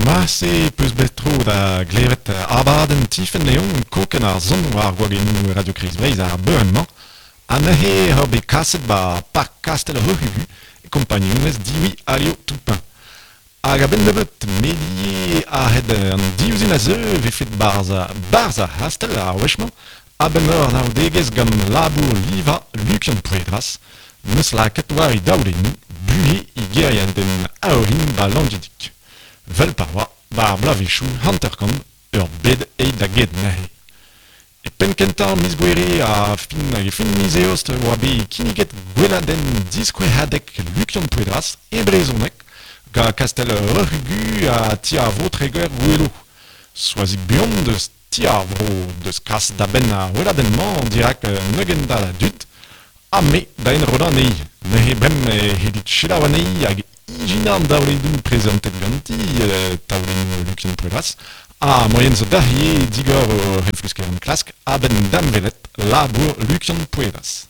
Marse peus bet tro da glevet abadenn Tifenn Leon kokenn ar son war gwagennoù Radio Kreiz Breizh ar beure-mañ ha neuze eo bet kaset 'ba Park Kastell Roc'hugu e kompagnunezh Divi Alio Toupin. Hag a-benn nebeut medie a-hed an div zin a zeu e vefe 'barzh 'barzh ar c'hastell ar wech-mañ a-benn ur anaoudegezh gant labour livañ Lukian Pouedras 'neus lakaet war e daolennoù buhez e gêriadenn a-orin 'ba Langidig. Vel pa oa 'ba ar bloavezhioù 50 ur bed aet da get neuze. E penn-kentañ miz Gouere ha fin hag e fin miz Eost e oa bet kinniget gweladenn diskouezadeg Lukian Pouedras e brezhoneg gant kastell Roc'hugu ha ti ar Vro Treger-Goueloù. Soazig Buan deus Ti ar Vro deus kas da benn ar weladenn-mañ dirak un ugentad a dud ha me da enrollañ anezhi. Neuze bremañ e c'hellit selaou anezhi hag ijinañ an daolennoù prezantet ganti, taolennoù Lukian Pouedras, ha moaien zo deoc'h ivez digor ho refluskerenn klask a-benn damwelet labour Lukian Pouedras.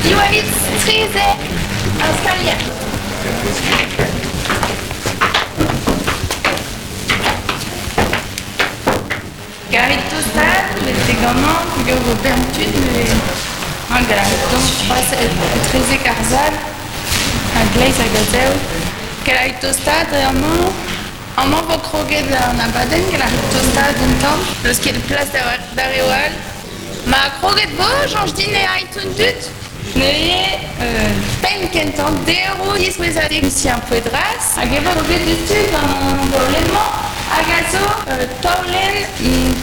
Diwallit strizh ar skalier. Garit tostaat betek amañ peogwir vo bern tud neuze. Garit dont c'hoazh etrezek ar sal a-gleiz hag a-zehou. Garit tostaat dre amañ. Amañ vo kroget an abadenn gant ar tostaat un tamm. N'eus ket plas da reoù all. Ma kroget vo, soñj din e ay tout dud. Neuze penn kentañ deroù diskouezadeg Lucien Pouedras hag e vo kroget diouzhtu gant an daolenn-mañ hag a zo taolenn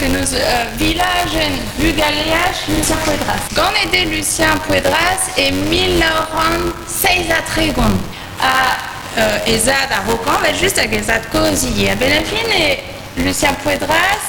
penaos vilajenn bugaleaj Lucien Pouedras. Ganet eo Lucien Pouedras e 1937 ha e zad a-raokañ evel-just hag e zad-kozh ivez. A-benn ar fin eo Lucien Pouedras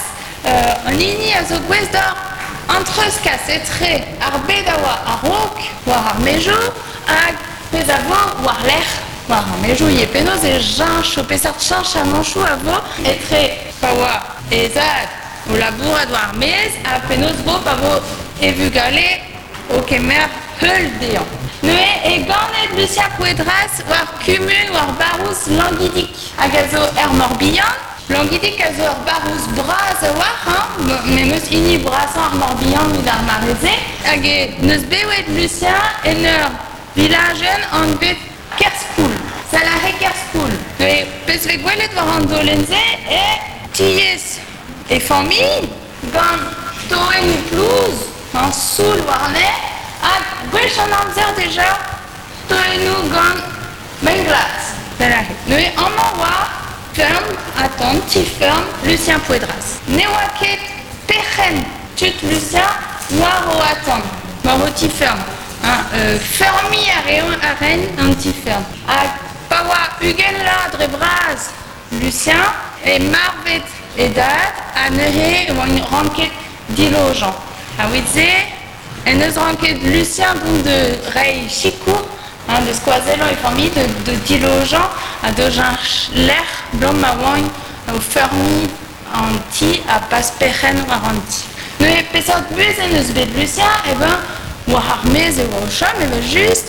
an hini a zo gouest d'oc'h an treuzkas etre ar bed a oa a-raok war ar maezioù hag pezh a vo war-lerc'h war ar maezioù ivez. Penaos e cheñcho, peseurt cheñchamanchoù a vo etre pa oa he zad o labourat war ar maez ha penaos vo pa vo e vugale o kemer heul dezhañ. Neuze eo ganet Lucien Pouedras war kumun war barrouz Langidig hag a zo er Morbihan. Langidig a zo ur barrouz bras a-walc'h, hañ, memes hini brasañ ar Morbihan evit ar mare-se. Hag e n'eus bewet Lucien en ur vilajenn anvet Kerspoul. Salare Kerspoul. Neuze, pezh 'vez gwelet war an daolenn-se eo tiez e familh gant toennoù plouz, hañ, soul warne, ha gwech an amzer dija toennoù gant Mein-glas, Pellac'h Neuze amañ oa feurm atant ti-feurm Lucien Pouedras. Ne oa ket perc'henn tud Lucien war o atant, war o ti-feurm. Hein, feurmiñ a reont a raent an ti-feurm. Hag pa oa 20 vloaz dre vras Lucien e marvet e dad ha neuze e oant ranket dilojañ. A-wit-se En deus ranket Lucien dont da reiñ sikour, hein, da skoazellañ e familh, da dilojañ ha da cheñch lec'h 'blam ma oant o feurmiñ an ti ha pas perc'henn war an ti. Neuze peseurt buhez en deus bet Lucien? Eh ben, war ar maez e oa o chom evel-just.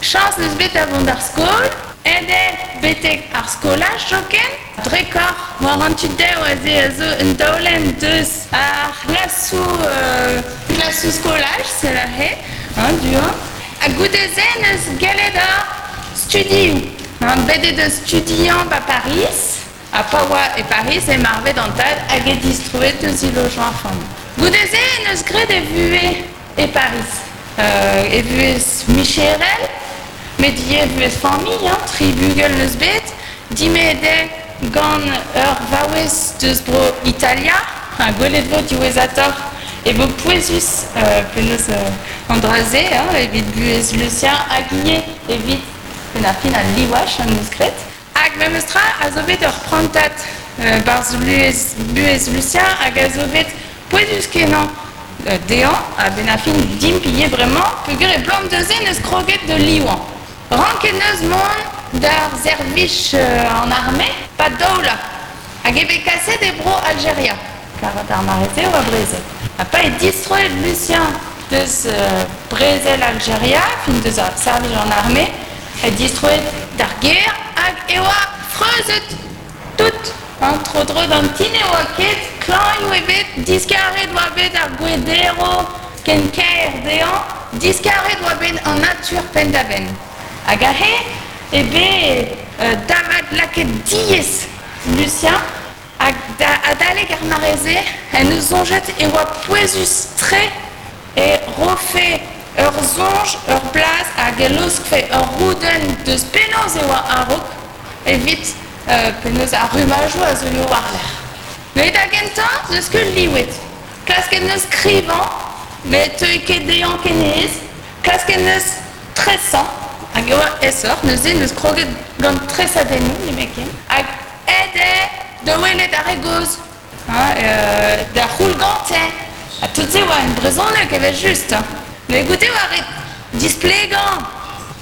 Chañs 'neus bet da vont d'ar skol, aet eo betek ar skolaj zoken. Drekoc'h war an tu dev aze a zo un daolenn deus ar c'hlasoù klasoù skolaj, sell aze, hein, du-hont. Ha goude-se 'neus gellet ar studioù. Hein, bet eo da studiañ 'ba Pariz, ha pa oa e Pariz eo marvet an tad hag eo distroet deus e lojañ ar familh. Goude-se 'neus graet e vuhez e Pariz. E vuhez micherel, met ivez buhez familh, hein, tri bugel 'neus bet, dimezet eo gant ur vaouez deus bro Italia, ha gwelet 'vo diwezhatoc'h e vo pouezus penaos an dra-se hein, evit buhez Lucien hag ivez evit penn ar fin al livaj am eus graet. Hag memes tra a zo bet ur prantad 'barzh buhez Lucien hag a zo bet pouezus-kenañ dezhañ a-benn ar fin dimp ivez bremañ peogwir e blam neuze 'neus kroget da livañ. Ranket 'neus mont d'ar servij an arme 'pad daou vloaz hag eo bet kaset e bro Aljeria kar d'ar mare-se e oa brezel. Ha pa eo distroet Lucien deus brezel Aljeria, fin deus ar servij an arme, e distroet d'ar gêr hag e oa freuzet tout. An tro-dro d'an ti ne oa ket klañv ebet, diskaret oa bet ar gwez-derv ken kaer dezhañ, diskaret oa bet an natur penn-da-benn. Hag aze eo bet davat lakaet diaes Lucien hag adalek ar mare-se en deus soñjet e oa pouezus-tre e rofe ur soñj, ur blas hag e laoskfe ur roudenn deus penaos e oa a-raok evit penaos ar rummajoù a zeuio war-lerc'h. Met da gentañ n'eus ket livet. Klasket 'neus skrivañ met teuy ket dezhañ ken aes. Klasket 'neus tresañ hag e oa aesoc'h neuze 'neus kroget gant tresadennoù nemetken. Hag aet eo da welet ar re gozh da c'houl gante. Ha tout se oa en brezhoneg evel-just. Met goude oa ret displegañ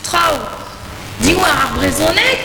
traoù diwar ar brezhoneg.